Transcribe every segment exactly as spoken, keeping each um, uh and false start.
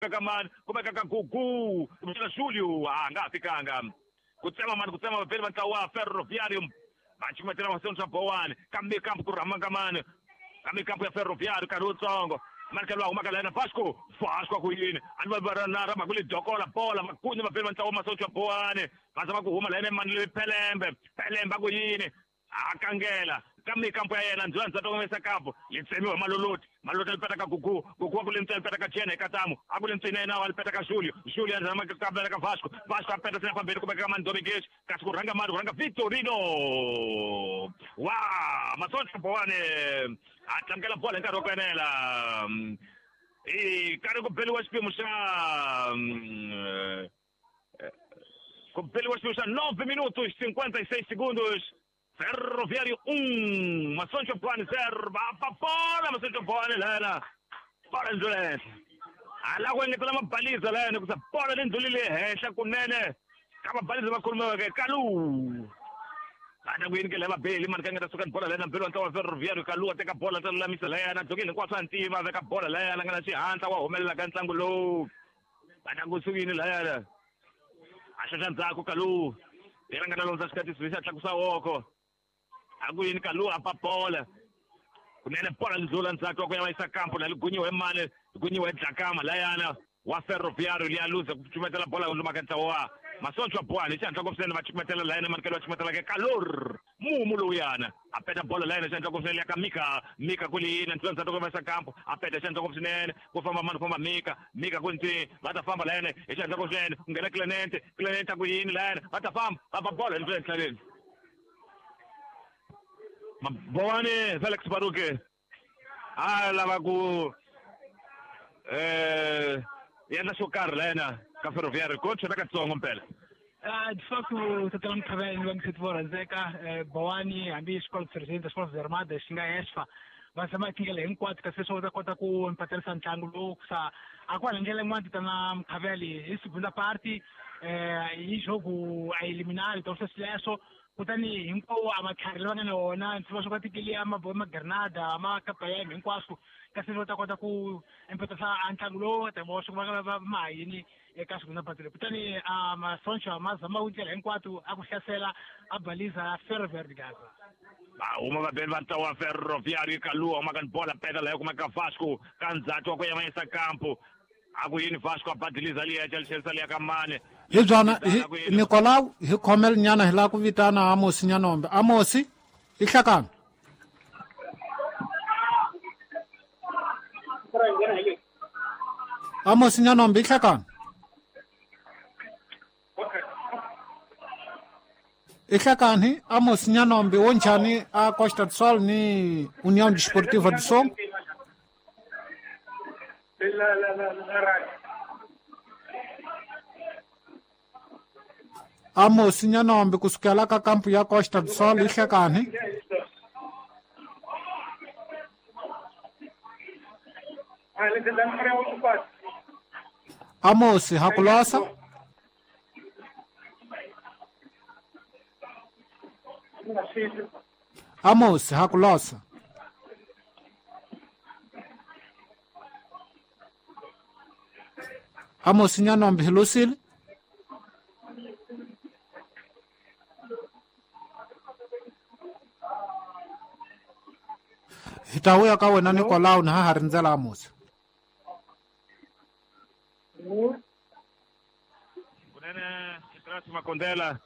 Ka mani kumeka ka Gugu kumbexana Julio a nga ha fikanga ku tsema mani ku tsema vavheli va ntlawa wa Ferroviário va cukumetela Masocha Bowani kambe kampu ku rhama ka mani kambe kampu ya Ferroviário nkarhi wutsongo mani ka lowa humaka la yena Vasco Vasco ku yini a ni va na rhamba ku li dokola bola makunye vavheli va ntlawa wa Masocha Bowani va zama ku huma la yena mani leyi Pelembe Pelembe a ku yini a kangela kambe kampo ya yena ndzula ndzata kumesa kampo li tsemiwa Maloloti Maloloti a li peta ka Gugu Gugu a ku le ntsena peta ka Jene Katamu a ku le ntsena yena wa li peta ka Julio Julio a zama ka peta ka Vasco Vasco a peta tsena fambeni ku veka mani Domingues kasi ku rhanga mani ku rhanga Vitorino wa Masocha Bowani a tlangela bola hi nkarhi wa ku enela i karhi ku beliwa xiphemu xa ku beliwa xiphemu xa nove minutos cinquenta e seis segundos. Ferroviário um, Masocha Bowani zero, va bola Masocha Bowani lana, bola ndlule, ala ku engetela mabaliza lana ku sa bola le ndlulile henhla kunene ka mabaliza va khulumiweke Kalu ana ku yini ke lava beli mani ka nga ta suka ni bola lana mbelo ntlawa Ferroviário Kalu a teka bola ta lulamisa layana dzokeni hinkwaswo a ntima veka bola layana nga na xihatla wa humelela ka ntlangu lowu ana ku sukini layana a xaxa ndzhaku Kalu yena nga na londza xikatisi xa tlakusa woko a ku yini Kalu a pa bola kunene bola ndlula ndzhaku wa ku ya va yisa kampo la ligunyiwe mani ligunyiwe Dlakama layana wa Ferroviário liya luza ku cukumetela bola luma ka ntlawa wa Masocha Bowani xihatla ku swinene va cukumetela layana manikelo va cukumetela ke Kalor mumu lowuyana a peta bola layana xihatla ku swinene ya ka Mika Mika ku li yini ndlula ndzhaku ku va yisa kampo a peta xihatla ku swinene ku famba mani ku famba Mika Mika ku ntsi va ta famba layana hi xihatla ku swinene ku nghena Clemente Clemente a ku yini layana va ta famba va ba bola ndlula enhlaleni Bowani Felix Baruke a lava ku eh endla xo karhi layena ka Ferroviário coach na katsongo mpela. De facto tatana Mkhavela va ngiseti vo rhandzeka Bowani hambi xikolo president xikolo Armadas xi nga ESFA va zama tindlela hinkwato kasi leswaku va ta kota ku empaterisa ntlangu lowu sa a ku hala ndlela yin'wana tatana Mkhavela hi segunda parte hi jogo a eliminar então sweswo kutani hinkwawo a matlhari lava nga na wona ndzi va swo ka tikeli a ma Granada ma Kapayem hinkwaswo kasi va ta kota ku empatisa a ntlangu lowu ta va swi va va ma yini eka segunda parte leyi kutani a Masocha ma zama ku ndlela hinkwato a ku hlasela a baliza Ferroviário de Gaza. Va huma vabeli va ntlawa wa Ferroviário Kalu huma ka bola peta layo kuma ka Vasco ka ndzhaku wa ku ya va yisa kampo a ku yini Vasco a badiliza liya xelisa liya ka mane hi byona Nicolau hi khomel nyana hi lava ku vitana Amosi Nyanombe Amosi i hlakana Amosi Nyanombe i hlakana i hlakani Amosi Nyanombe wo njhani a Costa do Sol ni União Desportiva do Songo Amosi Nyanombe kusukela ka kampu ya Costa do Sol i hlakani Amosi hakulosa Amosi hakulosa Amosi Nyanombe hi hi ta vuya ka wena Nicolau na ha ha rindzela Amosi. Kunene Trasi Makondela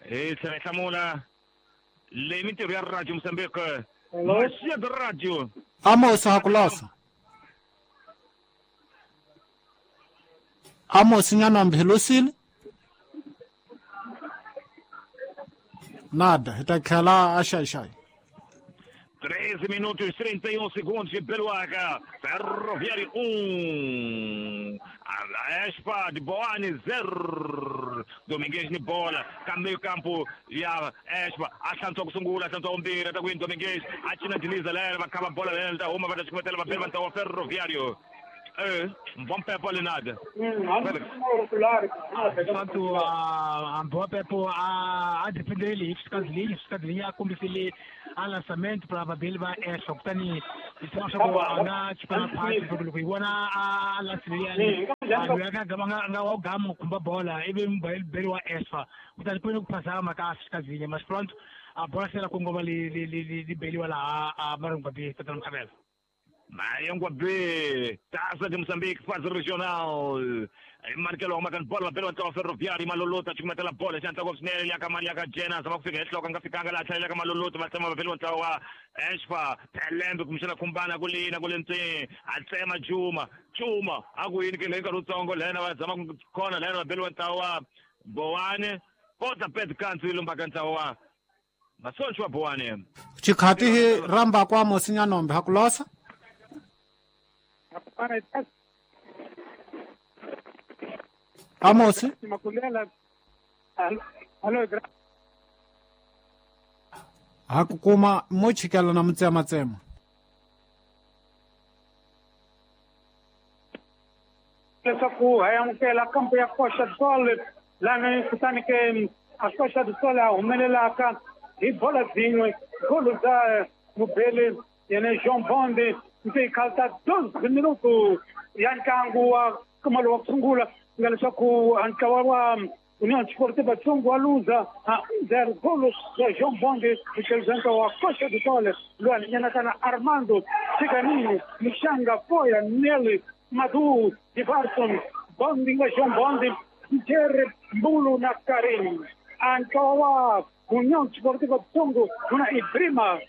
hi tlhela hi hlamula leyi mintirho ya Radio Mozambique Masia de Radio Amosi hakulosa Amosi Nyanombe hi losile nada hi ta tlhela a xaxai treze minutos trinta e um segundos de Beluaga, Ferroviário um, a Espa de Boane zero, Domingues de bola, meio campo, ya Espa, a Sungula, a Umbira, tá com Domingues, a Tina de Lisa, leva, acaba a bola, leva, uma vai levantar o Ferroviário. É, bom pepo ali nada. De fato, a boa pepo a a depender ele, fica de linha, fica de linha, como se ele a lançamento para vabeli va Esfa kutani hi tshama swa ku a nga chipana phasi loko hi vona a lanceliyani loyi a nga gama nga wa gama ku khumba bola ivi mubeli wa Esfa kutani ku ku phazama ka Xikazinye mas pronto a bola se la kongoma li li li li beliwa laha a Marengwa B tatana Mkhabela. Marengwa B, Taça de Moçambique, fase regional. Markelo makan bola belo ntwa Ferroviário Malolota chukumetela bola xantla ko swinene ya ka mali ya ka Jena zama ku fika ehloko nga fikanga la tlhela ka Malolota va tsema belo ntwa wa Esfa Pelembe kumxana khumbana ku lina ku lentseni a tsema Juma Juma a ku yini ke le nkarhi wutsongo lena va zama ku khona lena va belo ntwa wa Bowane kota pet kansi lumba ntwa wa Masoncho wa Bowane Xikhati hi ramba kwa Mosinyanombe ha ku losa Amos ha ku kuma mo chikela na mutsema tsema leswaku ha amukela kampo ya Costa do Sol lana kutani ke a Costa do Sol a humelelaka hi bola zin'we golo za mubele yena Jean Bonde nse khalta doze minuto ya ntlangu wa kamalo wa ku sungula nga leswaku ntlawa wa União Desportiva Tsongo wa luza a um zero golos ya João Bonde ucherizanta wa Costa do Sol lwani nyanakana Armando Chiganini Mishanga Foya Nelly Madu Divarson Bonde nga João Bonde Jerry Mbulu na Karim ntlawa wa União Desportiva Tsongo kuna Ibrima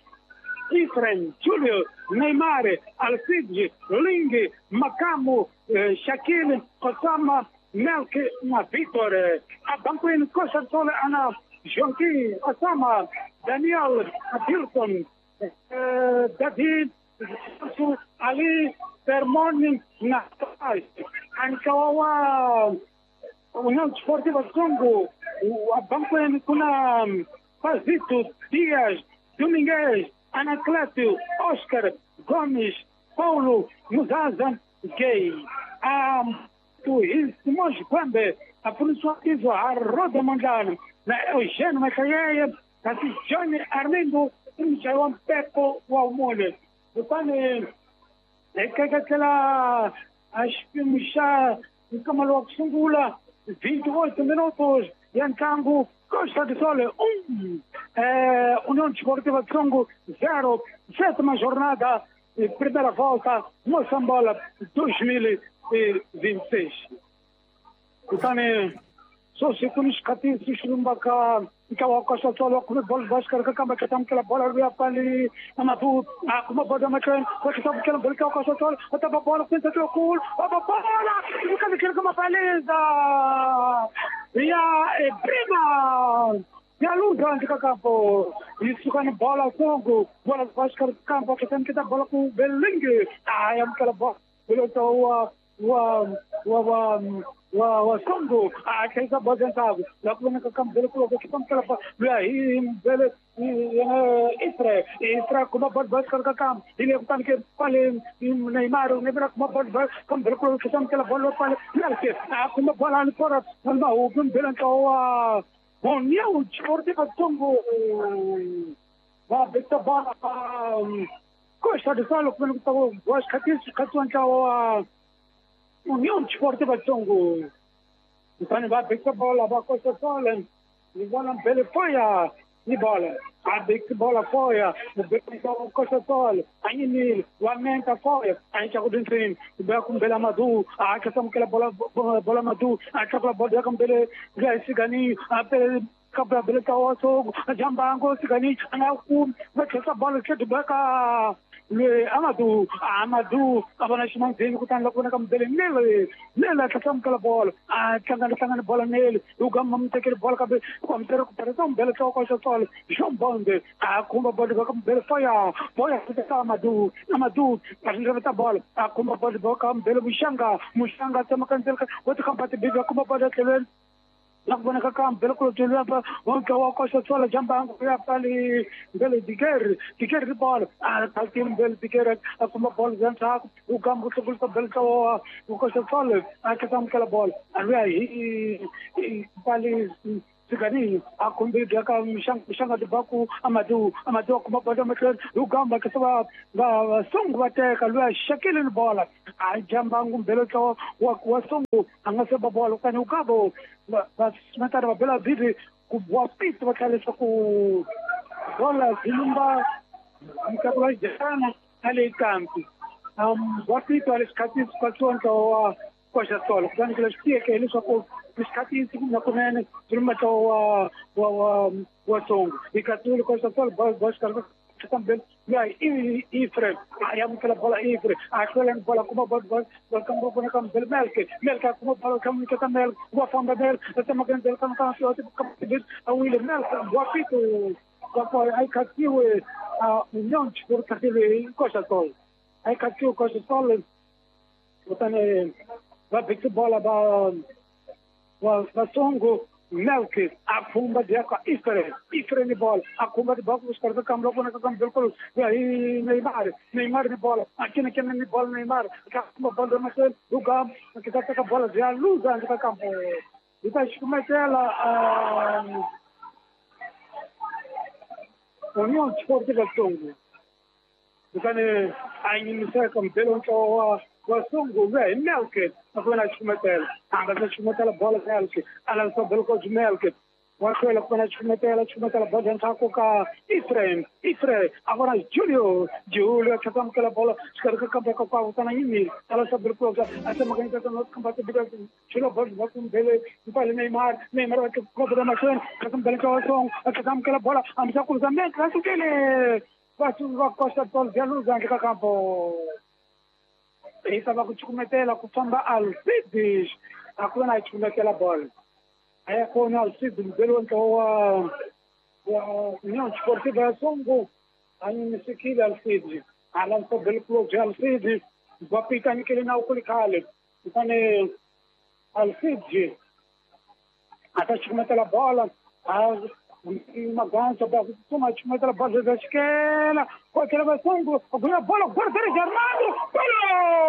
Ifrem, Júlio, Neymar, Alcide, Ling, Macamo, eh, Shaquille, Osama, Melk na Vitor. A Banco Costa do Sol, Ana, Joaquim, Osama, Daniel, Adilson, eh, David, Ali, Termoni, Natais. Ankawa, União Desportiva Congo, a Banco kuna Pazito, Dias, Domingues, Anacleto, Oscar, Gomes, Paulo, Muzaza, Gay. A Simões Guambe, a François Iso, a Roda Mondlane, na Eugênio Macaia, a Johnny Arlindo, Michael Pepo, Walmone. Kutani ekekekela a xipimo xa nkamalo wa ku sungula vinte e oito minutos ya ntlangu Costa do Sol um, eh, União Desportiva Tsongo zero, sétima jornada, primeira volta, Moçambola dois mil e vinte e seis. Kutani só se kunis kati sixumbaka ikawa Costa do Sol kuma bola Vasco ka kamba ka tamkela bola ya pali Amadou a kuma bola makan ko ka tamkela bola ka Costa do Sol ota bola tenta que gol a bola fica que kuma beleza ya Ibrima ya luza de campo isso com bola Congo bola Vasco campo que tem que dar bola com Belingue ah é aquela bola o o o wa wa Congo a kaisa bozentavo la kuma ka kambo ko ko kam kala la hi bele Ifre Ifra kuma bol bol ka kam ile kutan ke pale Neymar ne kuma bol bol kam ko kam kala bol pale ke a kuma bol an fora ma o bun belen ka wa União Desportiva Congo va beta ba Costa do Sol kuma ko was khatis khatwan ka wa União Desportiva Tsongo. Kutani va beka bola va Costa do Sol. Ni bola mbele foya ni bola. A beka bola foya, o beka Costa do Sol. Aí lamenta foya, aí já com dentro, o beka com bela Madu, a que estamos aquela bola bola Madu, a que aquela bola com bele Gani, a bele kabla bele tawaso, a jambango Gani, a ku vai essa bola que do beka le Amadou, Amadou, abana ximandini kutani la kuvona ka mubele nele nele a tlhela bola a tlangana hlangana bola nele u gamba mu tekeli bola kambe ku ku tirhisa mubele tloko xa tsolo Jean Bonde a khumba bola ka mubele faya bola ka Amadou, Amadou a ringeta bola a khumba bola ka mubele Muxanga, Muxanga tsema ka ndzela wa tikhamba tibibi a khumba bola tlhelweni la kubona ka kambe loko tshela wonke wa Costa do Sol jambango ya pali mbele diger diger bola a taltim mbele diger a kuma bola zantsa u gambo tlogol ka bele ka wa Costa do Sol a ka tamkela bola a ri pali Siganinho a khombe ka mixanga tibaku Amadou Amadou kuma bola mahlweni Ugamba ke va va Songo va teka luya xekile ni bola a jambangu mbelo tlo wa wa Songo a nga se ba bola kutani Ugabo va va va bela bibi ku wa pito va tlhela leswaku bola zilumba mukati wa jana ale kampi um wa pito ale xikhatsi xikhatsiwa ntlawa wa Costa Sol kutani ku leswi tiyeke leswaku isikhathi nakunene zilumba wa wa wa wa Songo ikatsule Costa Sol boshka também ya Ifre ayamukela bola Ifre ahlwela bola kuma bola bola kambo bona kam Melke Melke kuma bola kam ka Melke wa famba Melke tama kan kan kan kan awile Melke wa pito wa ai katsiwe a União Desportiva Costa Sol ai katsiwe Costa Sol kutani va beka bola ba wa Songo Melke a de Ifre Ifre ni bola a fumba de bola os caras campo logo na campo bilkul aí Neymar Neymar ni bola aqui na ni bola Neymar a bola mas o gam que tá com a bola já luz antes campo e tá chumetela a União Desportiva Songo kutani a iniciar com pelo o wa Songo velho Melke agora chumetela anga chumetela bola Melke ala só bilkul Melke wa kwela kuna chumetela chumetela bola ntsako ka Ifrem Ifre agora Julio Julio chakam kela bola skarka kampa ka ka utana yimi ala só bilkul asa magani ka no kampa te biga chulo bola ba bele mpale Neymar Neymar wa ko bola machon ka bele ka song ka kela bola amsa ku zambe ka sukele va va Costa Sol Jaluza ka campo estava ku chumetela ku famba Alcides akuna chumetela bola aí com Alcides belo então wa wa União Desportiva Songo aí nisikile Alcides ala so belo de Alcides vapita nikele na ukulikale kutane Alcides ata chumetela bola a uma gança ba toma chumetela bola da esquela com aquela Songo agora bola guarda armado gol.